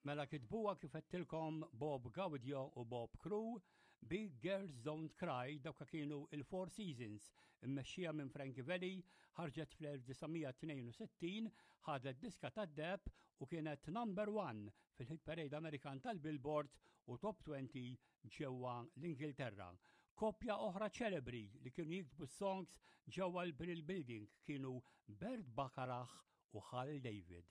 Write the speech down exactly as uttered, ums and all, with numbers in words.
Mela kitbuha kif għedtilkom Bob Gaudio u Bob Crew, Big Girls Don't Cry dawk kienu il-Four Seasons, immexxija minn Frankie Valli, ħarġet fl-elf disa' mija tnejn u sittin, ħadet diska tad-deheb u kienet number one fil-hit parade Amerikan tal-Billboard u top twenty ġewwa l-Ingilterra. Koppja oħra ċelebri li kienu jiktbu songs ġewwa l-Brill Building kienu Burt Bacharach u Hal David.